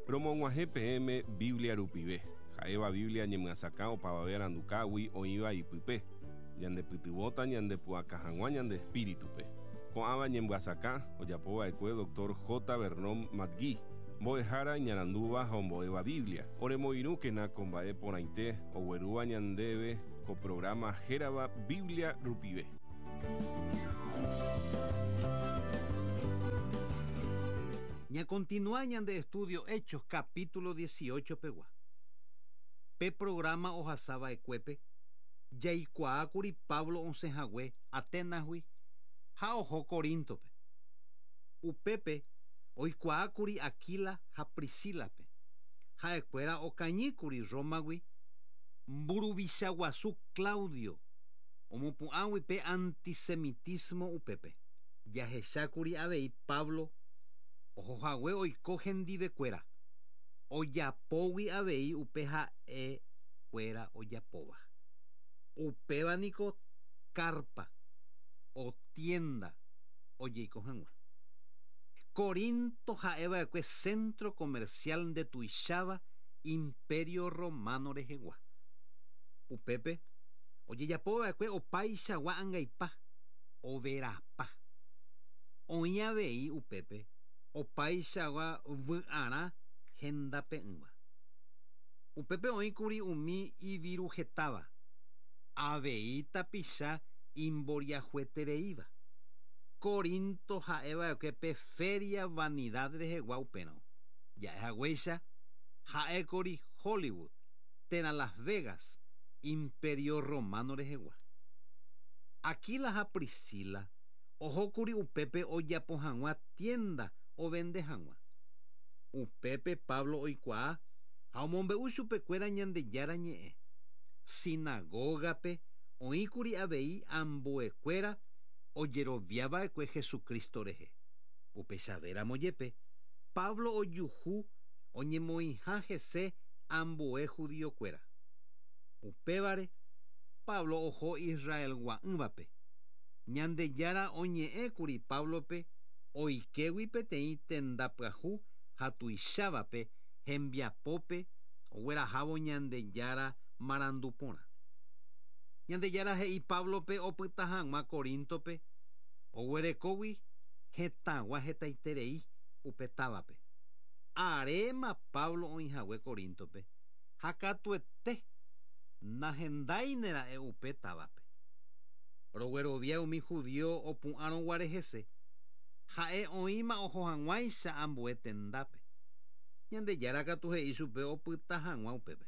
Romog̃uahẽ peẽme Biblia rupive, ha'éva Biblia ñemyasakã opavave arandukágui oĩva ipype, ñandepytyvõta ñandepu'aka hag̃ua ñande espíritupe. Ko'ãva ñemyasakã ojapova'ekue Dr. J. Vernon McGee, mbo'ehára iñarandúva ha ombo'éva Biblia. Oremoirũkena ko mba'e porãite oguerúva ñandéve ko programa hérava Biblia rupive. Ñakontinua ñande estudio Hechos capítulo 18 pegua. Pe programa ohasava'ekuépe jaikuaákuri Pablo osẽhague Atenasgui ha oho Coríntope. Upépe oikuaákuri Aquila ha Priscílape. Ha'ekuéra okañýkuri Rómagui mburuvicha guasu Claudio omopu'ãgui pe antisemitismo upépe. Jahechákuri avei Pablo ohohague oiko hendivekuéra, ojapógui avei upe ha'ekuéra ojapóva. Upéva niko carpa o tienda ojeiko hag̃ua. Corinto ha'eva'ekue centro comercial ndetuicháva Imperio Romano rehegua. Upépe ojejapova'ekue opaichagua angaipa, overapa. Oĩ avei upépe opaichagua vy'arã hendape'ỹva. Upépe oĩkuri umi iviruhetáva, avei tapicha imboriahuetereíva. Corinto ha'eva'ekue pe feria vanidad rehegua upérõ. Ja'ehaguéicha ha'ékuri Hollywood térã Las Vegas Imperio Romano rehegua. Aquila ha Priscila ohókuri upépe ojapo hag̃ua tienda ovende hag̃ua. Upépe Pablo oikuaa ha omombe'u chupekuéra Ñandejára ñe'ẽ. Sinagógape oĩkuri avei ambuekuéra ojeroviava'ekue Jesucristo rehe. Upechavéramo jepe, Pablo ojuhu oñemoĩha hese ambue judiokuéra. Upévare, Pablo oho Israelgua'ỹvape. Ñandejára oñe'ẽkuri Páblope oikégui peteĩ tenda pyahu ha tuichávape hembiapópe oguerahávo Ñandejára marandu porã. Ñandejára he'i Páblope opyta hag̃ua Coríntope oguerekógui hetãgua hetaiterei upe távape. Aréma Pablo oĩhague Coríntope ha katuete nahendáinera'e upe távape. Roguerovia umi judío opu'ãrõguare hese, ha'e oĩma oho hag̃uáicha ambue tendápe. Ñandejára katu he'i chupe opyta hag̃ua upépe.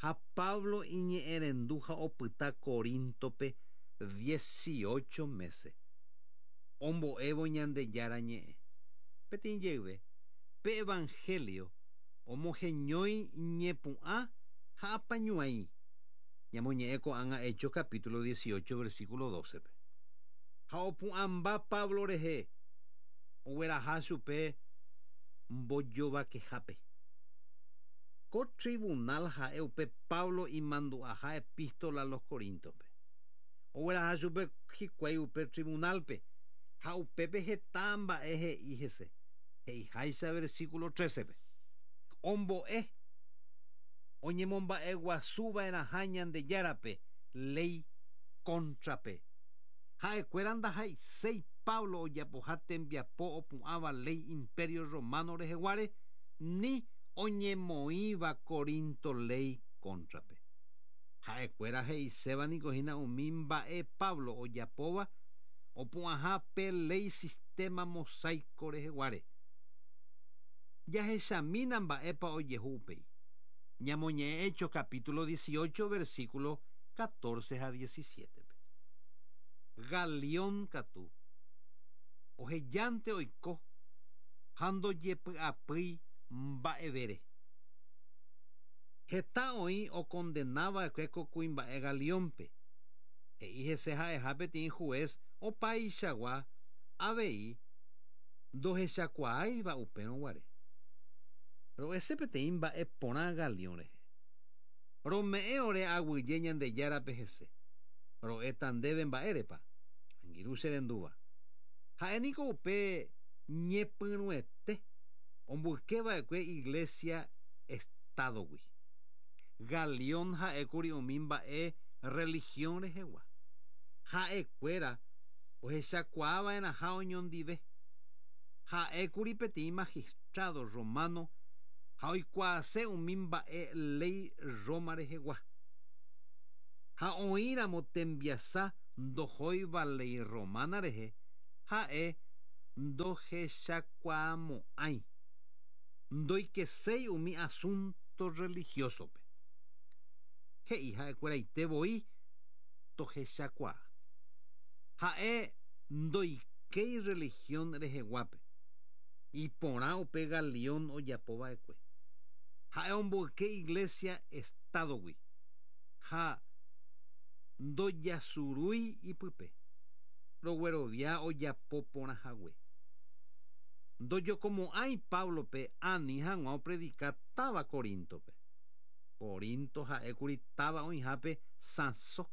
Ha Pablo iñe'ẽrendu ha opyta Coríntope 18 mése, ombo'évo Ñandejára ñe'ẽ. Peteĩ jeyve, pe Evangelio omoheñói ñepu'ã ha apañuãi. Ñamoñe'ẽ ko'ág̃a Hechos capítulo 18 versículo 12-pe. Ha opu'ãmba Pablo rehe ogueraha chupe mbojovakehápe. Ko tribunal ha'e upe Pablo imandu'aha epístola los Coríntope. Ogueraha chupe hikuái upe tribunalpe ha upépe heta mba'e he'i hese, he'iháicha versículo 13-pe. Ombo'e oñemomba'eguasuva'erãha Ñandejárape léi kóntrape. Ha'ekuéra ndaha'eiséi Pablo ojapoha tembiapo opu'ãva léi Imperio Romano reheguáre ni oñemoĩva Corinto léi kóntrape. Ha'ekuéra he'iséva niko hína umi mba'e Pablo ojapóva opu'ãha pe léi sistema mosaico reheguáre. Jahechamína mba'épa ojehu upéi. Ñamoñe'ẽ Hechos capítulo 18 versículo 14 ha 17-pe. Galión katu ohejánte oiko ha ndojepy'apýi mba'evére. Heta oĩ okondenava'ekue ko kuimba'e Galiónpe. He'i hese ha'eha peteĩ juez opaichagua avei ndohechakuaáiva upérõ guare. Ro'ese peteĩ mba'e porã Galión rehe. Rome'ẽ ore aguyje Ñandejárape hese. Ro'éta ndéve mba'érepa, angirũ che rendúva. Ha'e niko upe ñepyrũete. Omboykeva'ekue Iglesia Estado-gui. Galión ha'ékuri umi mba'e religión rehegua. Ha'ekuéra ohechakuaava'erãha oñondive. Ha'ékuri peteĩ magistrado romano ha oikuaase umi mba'e léi Roma rehegua. Ha oĩramo tembiasa ndohóiva léi romana rehe, ha'e ndohechakuaamo'ãi. Ndoikeséi umi asunto religioso-pe. He'i ha'ekueraite voi tohechakuaa. Ha'e ndoikéi religión reheguápe. Iporã upe Galión ojapo va'ekue. Ha'e omboyke Iglesia Estado-gui ha ndojasurúi ipype. Roguerovia ojapo porã hague. Ndojokomo'ãi Páblope ani hag̃ua opredika táva Coríntope. Corinto ha'ékuri táva oĩhápe sãso.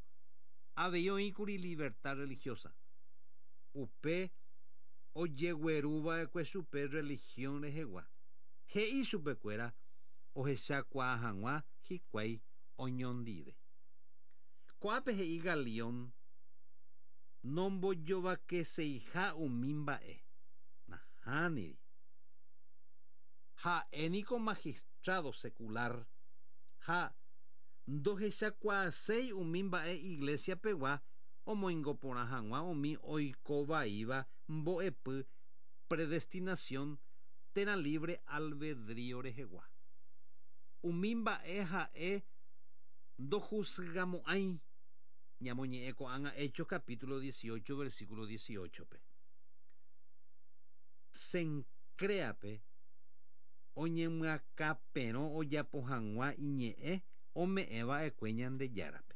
Avei oĩkuri libertad religiosa. Upe ojegueruva'ekue chupe religión rehegua, he'i chupekuéra ohechakuaa hag̃ua hikuái oñondive. Ko'ápe he'i Galión nombojovakeseiha umi mba'e. Nahániri. Ha'e niko magistrado secular ha ndohechakuaaséi umi mba'e iglesia pegua omoingo porã hag̃ua umi oiko vaíva mbo'epy predestinación térã libre albedrío rehegua. Umi mba'e ha'e ndohusgamo'ãi, ñamoñe'ẽ ko'ág̃a Hechos capítulo 18 versículo 18-pe. Cencréape oñemyakãperõ ojapo hag̃ua iñe'ẽ ome'ẽ va'ekue Ñandejárape.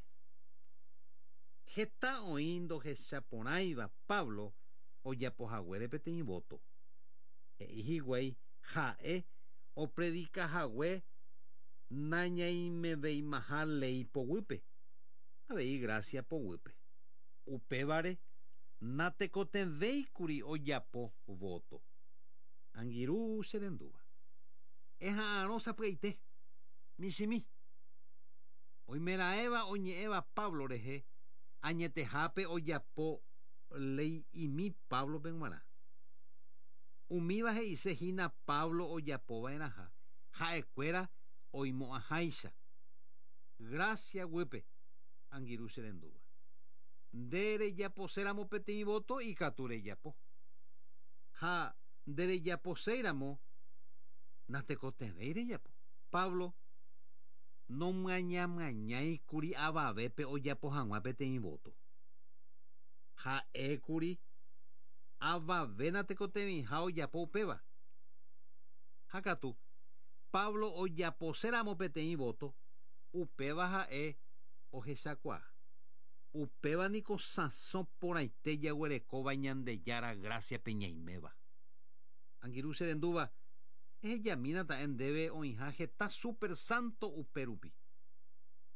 Heta oĩ ndohechaporãiva Pablo ojapo haguére peteĩ vóto. He'i hikuái ha'e opredika hague nañaimeveimaha léi poguýpe, avei grásia poguýpe. Upévare natekotevẽikuri ojapo vóto. Angirũ che rendúva. Eha'arõ sapy'aite, michĩmi. Oimeraẽva oñe'ẽva Pablo rehe añetehápe ojapo lei'imi Páblope g̃uarã. Umíva he'ise hína Pablo ojapo va'erãha ha'ekuéra oimo'ãháicha. Grásia guýpe, angirũ che rendúva. Nde rejaposéramo peteĩ vóto ikatu rejapo. Ha nderejaposéiramo natekotevẽi rejapo. Pablo nomyañamyañáikuri avavépe ojapo hag̃ua peteĩ vóto. Ha'ékuri avave natekotevẽiha ojapo upéva. Ha katu, Pablo ojaposéramo peteĩ vóto, upéva ha'e ohechakuaa. Upéva niko sãso porãite jaguerekóva Ñandejára grásiape ñaiméva. Angirũ che rendúva, ehejamína ta'e ndéve oĩha heta super santo upe rupi.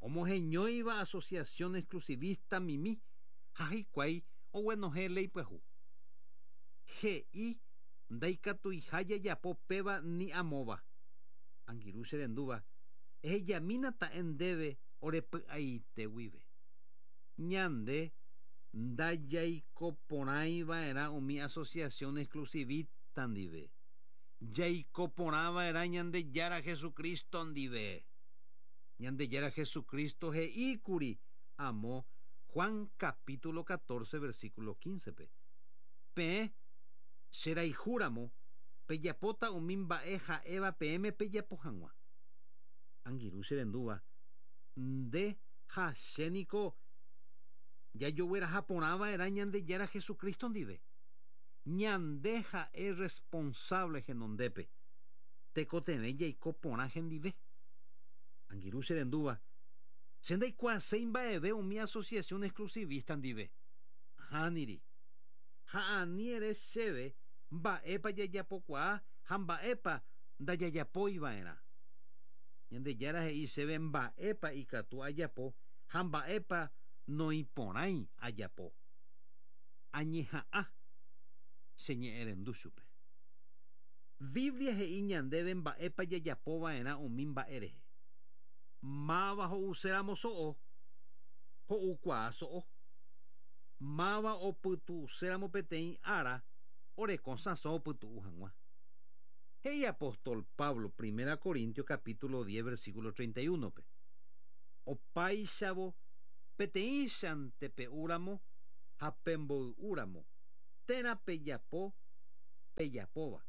Omoheñóiva asociación exclusivista mimi ha hikuái oguenohẽ léi pyahu. He'i ndaikatuiha jajapo péva ni amóva. Angirũ che rendúva, ehejamína ta'e ndéve ore py'aite guive. Ñande ndajaikoporãiva'erã umi asociación exclusivista ndive. Jaikoporãva'erã Ñandejára Jesucristo ndive. Ñandejára Jesucristo he'íkuri amo Juan capítulo 14 versículo 15-pe, Peẽ cherayhúramo, pejapóta umi mba'e ha'éva peẽme pejapo hag̃ua. Angirũ che rendúva, nde ha che niko jajogueraha porã va'erã Ñandejára Jesucristo ndive. Ñande ha'e responsable henondépe, tekotevẽ jaiko porã hendive. Angirũ che rendúva, che ndaikuaaséi mba'eve umi asociación exclusivista ndive. Ahániri. Ha ani ere chéve mba'épa jajapokuaa ha mba'épa ndajajapói va'erã. Ñandejára he'i chéve mba'épa ikatu ajapo ha mba'épa noĩporãi ajapo. Añeha'ã cheñe'ẽrendu chupe. Biblia he'i ñandéve mba'épa jajapova'erã umi mba'e rehe. Máva ho'uséramo so'o, ho'ukuaa so'o. Máva opytu'uséramo peteĩ ára, oreko sãso opytu'u hag̃ua. He'i apóstol Pablo, Primera Corintios capítulo 10 versículo 31-pe. Opáichavo peteĩchante pe'úramo ha pemboy'úramo, térã pejapo pejapóva,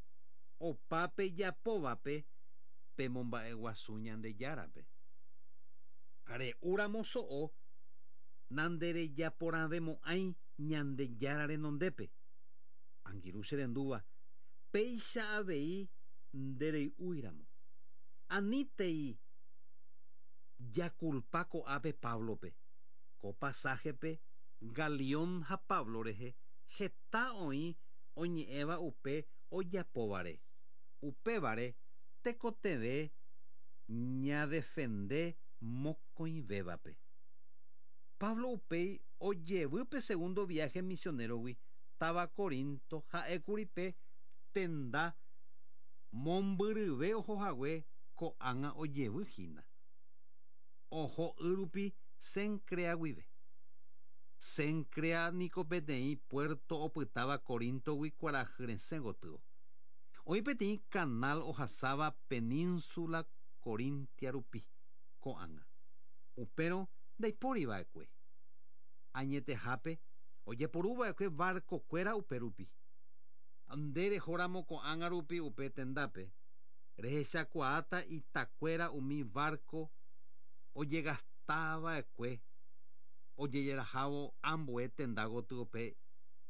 opa pejapóvape pemomba'eguasu Ñandejárape. Re'úramo so'o, nanderejaporãvemo'ãi Ñandejára renondépe. Angirũ che rendúva, péicha avei nderey'úiramo. Anítei jakulpa ko'ápe Páblope. Ko pasáhepe Galión ha Pablo rehe heta oĩ oñe'ẽva upe ojapóvare. Upévare tekotevẽ ñadefende mokõivévape. Pablo upéi ojevy pe segundo viáhe misionérogui táva Corinto ha'ékuri pe tenda mombyryve ohohague ko'ág̃a ojevy hína. Oho y rupi Cencrea guive. Cencrea niko peteĩ puerto opytáva Coríntogui kuarahy resẽ gotyo. Oĩ peteĩ canal ohasáva península Corintia rupi ko'ág̃a. Upérõ ndaipóri va'ekue. Añetehápe ojeporu va'ekue barco-kuéra upe rupi. Nde rehóramo ko'ág̃a rupi upe tendápe, rehechakuaáta itakuéra umi barco ojegasta va'ekue ojejerahávo ambue tenda gotyo pe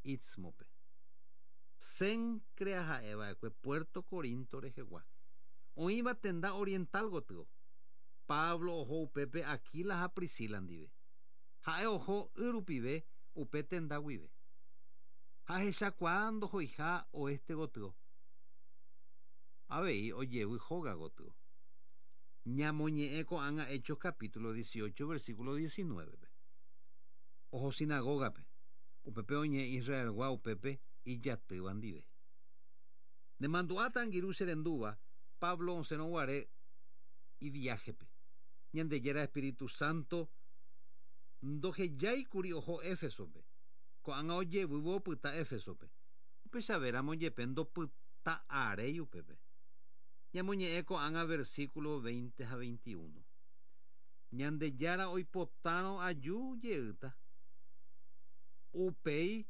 Istmo-pe. Cencrea ha'e va'ekue puerto Corinto rehegua, oĩva tenda oriental gotyo. Pablo oho upépe Aquila ha Priscila ndive. Ha'e oho y rupive upe tenda guive. Ha ahechakuaa ndohoiha oeste gotyo, avei ojevy hóga gotyo. Ñamoñe'ẽ ko'ág̃a Hechos capítulo 18 versículo 19-pe. Oho sinagógape, upépe oñe'ẽ Israelgua upépe ijatýva ndive. Nemandu'áta angirũ che rendúva Pablo osẽrõ guare iviáhepe. Ñandejára espíritu santo ndohejáikuri oho Éfesope. Ko'ág̃a ojevývo opyta Éfesope. Upechavéramo jepe ndopyta'aréi upépe. Ñamoñe'ẽ ko'ág̃a versículo 20 ha 21. Ñandejára oipotárõ aju jeýta. Upéi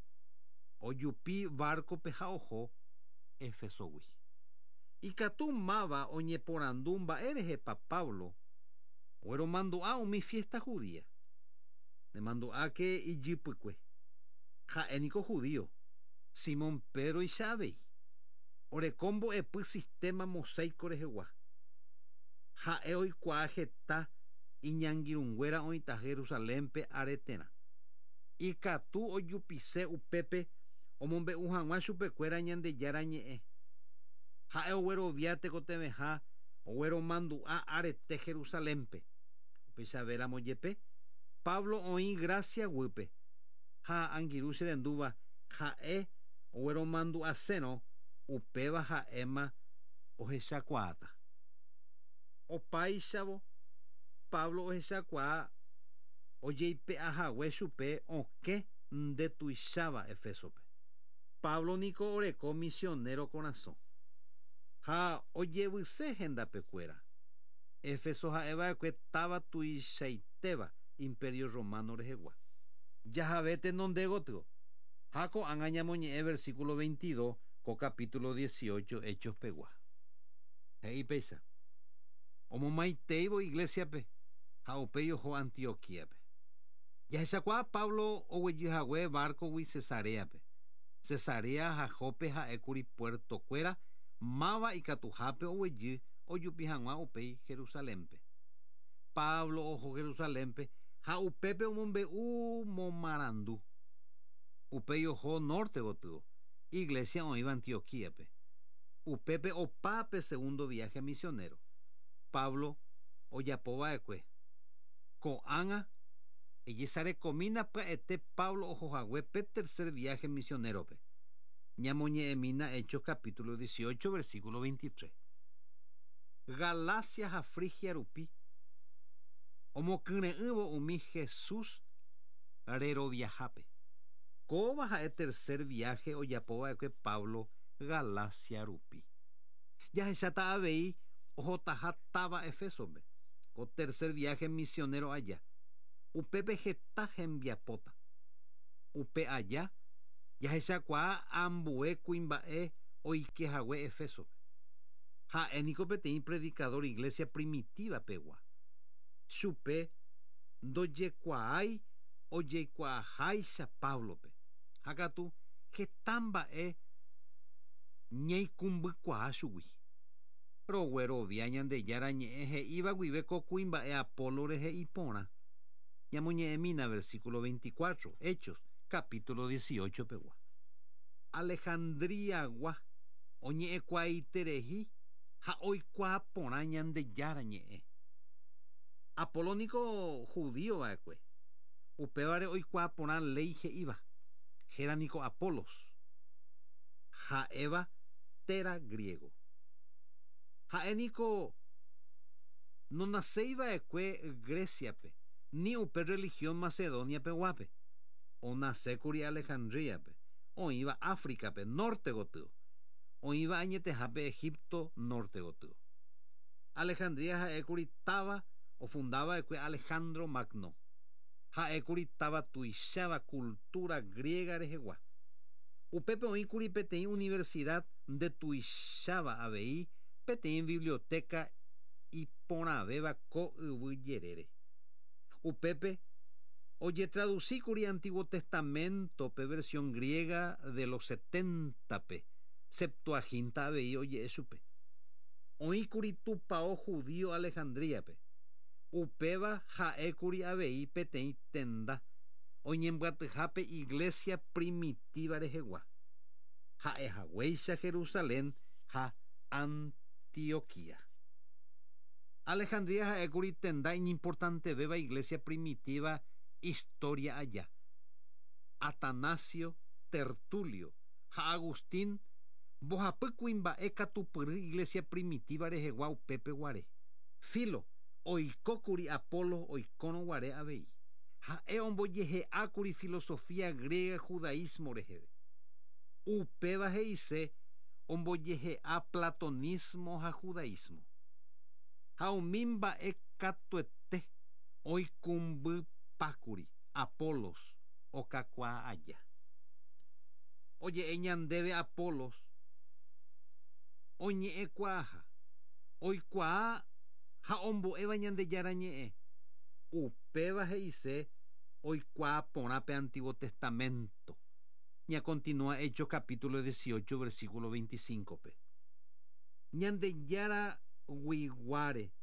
ojupi várkope ha oho Éfesogui. Ikatu máva oñeporandu mba'érehepa Pablo ogueromandu'a umi fiesta judía. Nemandu'áke ijypykue. Ha'e niko judío, Simón Pédroicha avei. Oreko mbo'epy sistema mosaico rehegua. Ha'e oikuaa heta iñangirũnguéra oĩta Jerusalénpe areterã. Ikatu ojupise upépe omombe'u hag̃ua chupekuéra Ñandejára Ñe'ẽ. Ha'e oguerovia tekotevẽha ogueromandu'a arete Jerusalénpe. Upéichavéramo jepe, Pablo oĩ grásia guýpe, ha angirũ che rendúva ha'e ogueromandu'asérõ upéva ha'éma ohechakuaáta. Opáichavo, Pablo ohechakuaa ojeipe'a hague chupe okẽ ndetuicháva Efésope. Pablo niko oreko misionero korasõ, ha ojevyse hendapekuéra. Éfeso ha'eva'ekue táva tuichaitéva Imperio Romano rehegua. Jahave tenonde gotyo, ha ko'ág̃a ñamoñe'ẽ versículo 22 ko capítulo 18 Hechos pegua. He'i péicha, Omomaiteívo iglésiape ha upéi oho Antioquíape. Jahechakuaa Pablo oguejy hague várkogui Cesaréape. Cesarea ha Jope ha'ékuri puertokuéra máva ikatuhápe oguejy ojupi hag̃ua upéi Jerusalénpe. Pablo oho Jerusalénpe ha upépe omombe'u momarandu. Upéi oho norte gotyo, iglésia oĩva Antioquíape. Upépe opa pe segundo viáhe misionero Pablo ojapo va'ekue. Ko'ág̃a ejesarekomína pya'ete Pablo oho hague pe tercer viáhe misionérope. Ñamoñe'ẽmína Hechos capítulo 18 versículo 23. Galacia ha Frigia rupi omokyre'ỹvo umi Jesús reroviahápe. Kóva ha'e tercer viaje ojapova'ekue Pablo Galacia rupi. Jahecháta avei ohotaha táva Efeso-pe, ko tercer viaje misionero aja. Upépe heta hembiapóta. Upe aja, jahechakuaa ambue kuimba'e oikehague Efeso-pe. Ha'e niko peteĩ predicador iglesia primitiva pegua. Chupe ndojekuaái ojeikuaaháicha Pablo-pe. Ha katu heta mba'e ñaikũmbykuaa chugui. Roguerovia Ñandejára ñe'ẽ he'íva guive ko kuimba'e Apolo rehe iporã. Ñamoñe'ẽmína versículo 24, Hechos, capítulo 18 pegua. Alejandría-gua oñe'ẽkuaaiterehi ha oikuaa porã Ñandejára ñe'ẽ. Apolo niko judío va'ekue, upévare oikuaa porã léi he'íva, héra niko Apolos, ha'éva téra griego. Ha'e niko nonaséi va'ekue Grecia-pe ni upe religión Macedonia peguápe, onasékuri Alejandría-pe, oĩva África-pe norte gotyo, oĩva añetehápe Egipto norte gotyo. Alejandría ha'ékuri táva ofundava'ekue Alejandro Magno. Ha'ékuri táva tuicháva cultura griega rehegua. Upépe oĩkuri peteĩ universidad ndetuicháva avei peteĩ biblioteca iporãvéva ko yvy jerére. Upépe ojetradusíkuri Antiguo Testamento-pe versión griega de los 70-pe, Septuaginta avei oje'e chupe. Oĩkuri tupão judío Alejandría-pe. Upéva ha'ékuri avei peteĩ tenda oñembyatyhápe iglesia primitiva rehegua. Ha'ehaguéicha Jerusalén ha Antioquía. Alejandría ha'ékuri tenda iñimportantevéva iglesia primitiva historia aja. Atanasio, Tertulio ha Agustín mbohapy kuimba'e katupyry iglesia primitiva rehegua upépe guare. Filo oikókuri Apolo oikórõ guare avei. Ha'e ombojehe'ákuri filosofía griega judaísmo reheve. Upéva he'ise ombojehe'a platonismo ha judaísmo. Ha umi mba'e katuete oikũmbypákuri Apolos okakuaa aja. Oje'e ñandéve Apolos oñe'ẽkuaaha, oikuaa ha ombo'éva Ñandejára ñe'ẽ. Upéva he'ise oikuaa porã pe Antiguo Testamento. Ñakontinua Hechos capítulo 18 versículo 25-pe. Ñandejára guiguáre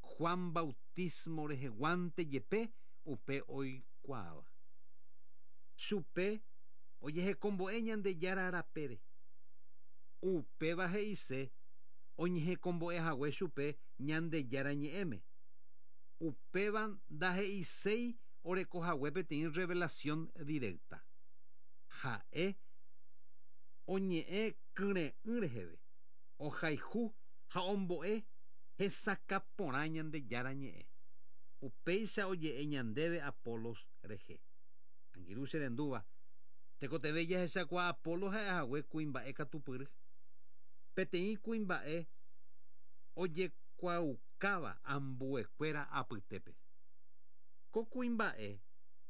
Juan bautismo reheguánte jepe upe oikuaáva. Chupe ojehekombo'e Ñandejára rapére. Upéva he'ise oñehekombo'ehague chupe Ñandejára ñe'ẽme. Upéva ndahe'iséi orekohague peteĩ revelación directa. Ha'e oñe'ẽ kyre'ỹ reheve, ohayhu ha ombo'e hesakã porã Ñandejára ñe'ẽ. Upéicha oje'e ñandéve Apolos rehe. Angirũ che rendúva, tekotevẽ jahechakuaa Apolo ha'ehague kuimba'e katupyry. Peteĩ kuimba'e ojekuaaukáva ambuekuéra apytépe. Ko kuimba'e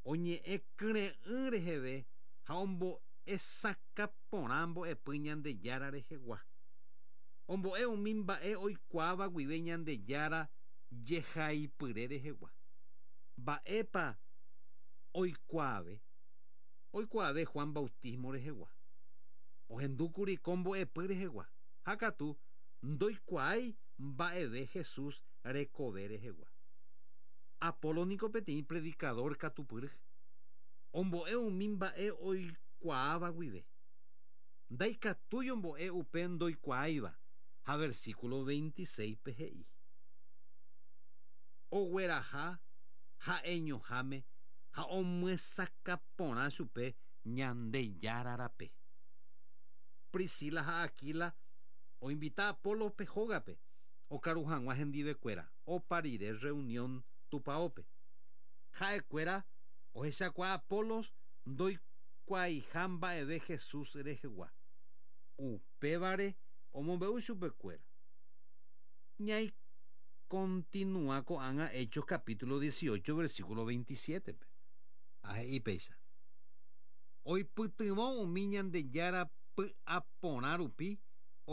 oñe'ẽ kyre'ỹ reheve ha ombo'esakã porã mbo'epy Ñandejára rehegua. Ombo'e umi mba'e oikuaáva guive Ñandejára jehaipyre rehegua. Mba'épa oikuaave? Oikuaave Juan bautismo rehegua. Ohendúkuri ko mbo'epy rehegua. Ha katu ndoikuaái mba'eve Jesús rekove rehegua. Apolo niko peteĩ predicador katupyry. Ombo'e umi mba'e oikuaáva guive. Ndaikatúi ombo'e upe ndoikuaáiva ha versículo 26-pe he'i. Ogueraha ha'eñoháme ha omyesakã porã chupe Ñandejára rape. Priscila ha Aquila oinvita Apolospe hógape okaru hag̃ua hendivekuéra opa rire reunión tupaópe. Ha'ekuéra ohechakuaa Apolos ndoikuaaiha mba'eve Jesús rehegua. Upévare omombe'u chupekuéra. Ñaikontinua ko'ág̃a Hechos capítulo 18 versículo 27-pe. Ha he'i péicha. Oipytyvõ umi Ñandejára py'aporã rupi.